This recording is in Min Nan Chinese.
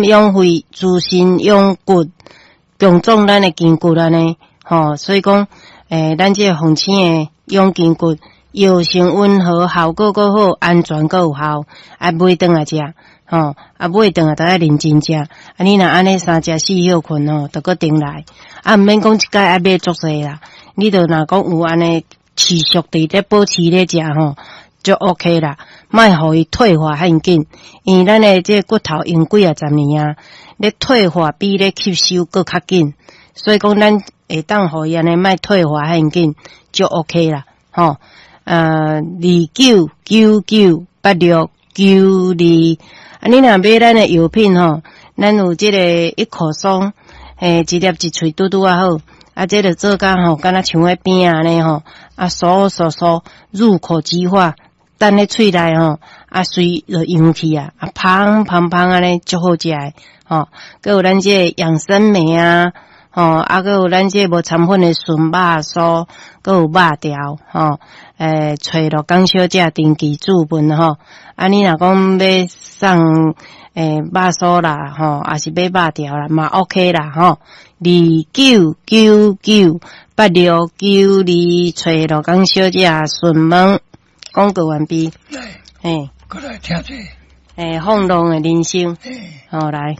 心養肺，滋身養骨，強壯咱的筋骨按呢，吼，所以講，咱這個鳳仙的養筋骨，藥性溫和，效果閣好，安全閣有效，啊，買轉來食，吼，啊，買轉來著愛認真食，啊，你若按呢三食四歇睏吼，就閣重來，啊，毋免講一擺愛買足濟啦，你著若講有按呢持續佇咧保持咧食吼，就 OK 啦，莫予伊退化遐緊，因為咱的這個骨頭用幾仔十年啊，咧退化比咧吸收閣較緊，所以講咱會當予伊按呢莫退化遐緊，就 OK 啦，吼。29998692，啊，你若買咱的藥品吼，咱有這個一口鬆，一粒一喙拄拄仔好，啊，這個做甲吼，敢若像彼餅按呢吼，啊，酥酥酥，入口即化，等咧喙內吼，啊，隨就溶去啊，啊，芳芳芳按呢，足好食的，吼，閣有咱這個養生梅啊，吼，啊，閣有咱這個無摻粉的純肉酥，閣有肉條，吼，揣陸江小姐登記注文吼，啊，你若講欲送肉酥啦，吼，抑是買肉條啦，嘛 OK 啦，吼，29998692，揣陸江小姐詢問，廣告完畢。來，嘿，過來聽這個。放浪的人生，嘿。好來。